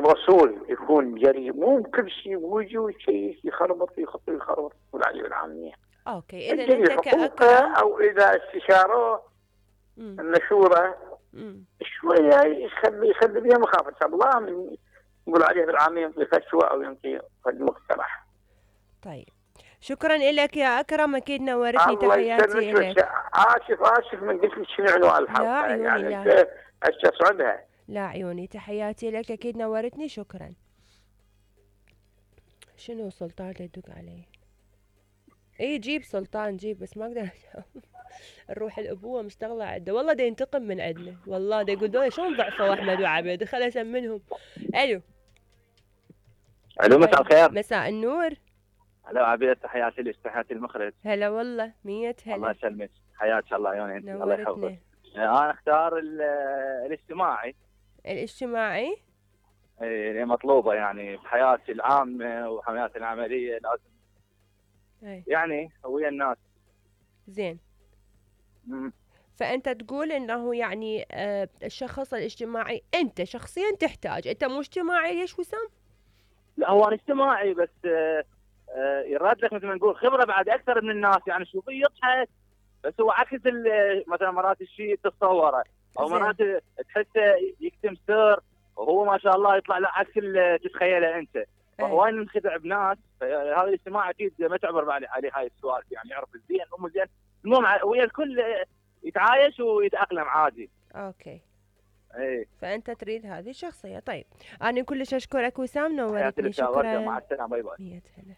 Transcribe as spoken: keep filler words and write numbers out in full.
الرسول يكون جريء، مو كل شيء بوجهه شيء يخربط يخط يخربط يقول عليه العاميه. اوكي اذا انت كاكرم او اذا استشاروه المشوره شويه يخلي يخلي بها مخافه الله من يقول عليه بالعاميه ينطي فتوى او ينطي مقترح. طيب شكرا لك يا اكرم، اكيد نورتني، تحياتي لك. اسف اسف من قلت لك شنو عنوان الحلقه. لا عيوني يعني لا استصعبها. لا عيوني، تحياتي لك، اكيد نورتني، شكرا. شنو سلطان يدق علي؟ اي جيب سلطان جيب، بس ما اقدر الروح الابوه مشتغله عنده، والله دا ينتقم من عندنا، والله دا يقول دول شلون ضعفوا احمد وعبيد، خل اسمنهم. الو الو مساء الخير. مساء النور. هلا عبيد، تحياتي لك، تحياتي المخرج. هلا والله مية هلا. الله يسلمك، حياك الله عيوني، الله يحفظك. انا اختار الاجتماعي. الاجتماعي اي مطلوبه يعني بحياتي العامه وحياتي العمليه، لازم أي. يعني ويا الناس. زين. مم. فانت تقول انه يعني آه الشخص الاجتماعي انت شخصيا تحتاج، انت مو اجتماعي ليش وسام؟ لا هو انا اجتماعي بس آه آه يراد لك مثل ما نقول خبره بعد اكثر من الناس، يعني شوفي يضحك بس هو عكس مثلا مرات الشيء تتصوره او مرات تحسه يكتم سر وهو ما شاء الله يطلع له عكس اللي تتخيله انت. فهو ننخدع بناس، فهذا الاجتماع اكيد ما تعبر عليه هاي السوالف، يعني يعرف الزين مو زين، المهم ويا الكل يتعايش ويتاقلم عادي. اوكي. ايه فانت تريد هذه الشخصيه. طيب انا كلش اشكرك وسام، نورتني، شكرا. مع السلامه، باي باي. مية هلا.